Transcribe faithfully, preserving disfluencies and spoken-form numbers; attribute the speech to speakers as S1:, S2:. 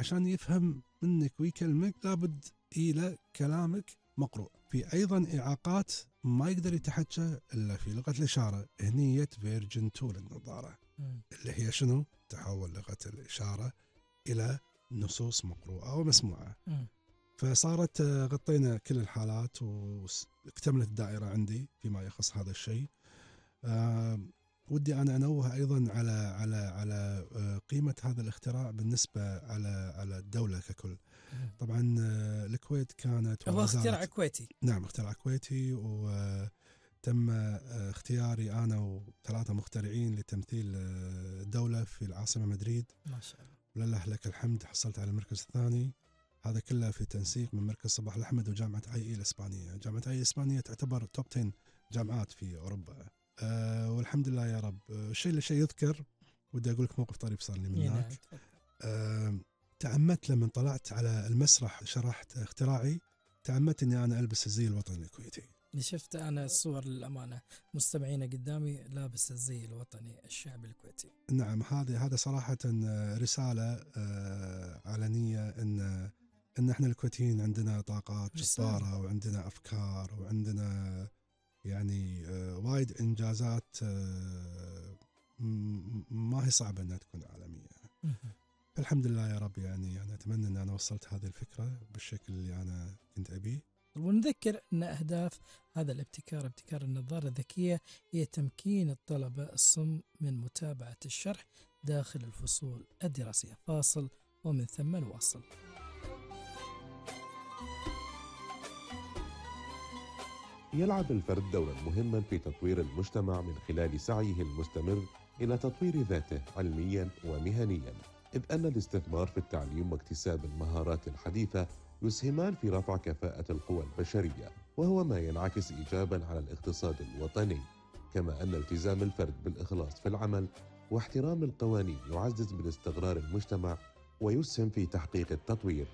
S1: عشان يفهم منك ويكلمك لابد إلى كلامك مقروء. في أيضا إعاقات ما يقدر يتحكى إلا في لغة الإشارة، هنية فيرجن تو للنظارة اللي هي شنو؟ تحول لغة الإشارة إلى نصوص مقروءة ومسموعة. م. فصارت غطينا كل الحالات واكتملت الدائرة عندي فيما يخص هذا الشيء. أه ودي أنا أنوه أيضا على على على قيمة هذا الاختراع بالنسبة على على الدولة ككل. طبعا الكويت كانت
S2: هو اختراع كويتي.
S1: نعم اختراع كويتي، وتم اختياري أنا وثلاثة مخترعين لتمثيل الدولة في العاصمة مدريد.
S2: ما شاء الله.
S1: ولله لك الحمد حصلت على المركز الثاني. هذا كله في تنسيق من مركز صباح الأحمد وجامعة آي إي الإسبانية. جامعة آي إي الإسبانية تعتبر توب عشرة جامعات في أوروبا. أه والحمد لله يا رب. الشيء اللي شيء يذكر، ودي أقول لك موقف طريف صار لي من هناك. أه تعمدت لما طلعت على المسرح شرحت اختراعي، تعمدت أني أنا ألبس الزي الوطني الكويتي.
S2: شفت أنا الصور للأمانة مستمعين قدامي لابس الزي الوطني الشعب الكويتي.
S1: نعم هذه هذا صراحة رسالة علنية إن إن إحنا الكويتيين عندنا طاقات جبارة وعندنا أفكار وعندنا يعني وايد إنجازات ما هي صعبة أنها تكون عالمية. الحمد لله يا رب. يعني أنا أتمنى أن أنا وصلت هذه الفكرة بالشكل اللي أنا كنت أبيه.
S2: ونذكر أن أهداف هذا الابتكار ابتكار النظارة الذكية هي تمكين الطلبة الصم من متابعة الشرح داخل الفصول الدراسية. فاصل ومن ثم نواصل.
S3: يلعب الفرد دورا مهما في تطوير المجتمع من خلال سعيه المستمر إلى تطوير ذاته علميا ومهنيا، إذ أن الاستثمار في التعليم واكتساب المهارات الحديثة يسهمان في رفع كفاءة القوى البشرية، وهو ما ينعكس إيجابا على الاقتصاد الوطني. كما أن التزام الفرد بالإخلاص في العمل واحترام القوانين يعزز من استقرار المجتمع ويسهم في تحقيق التطوير.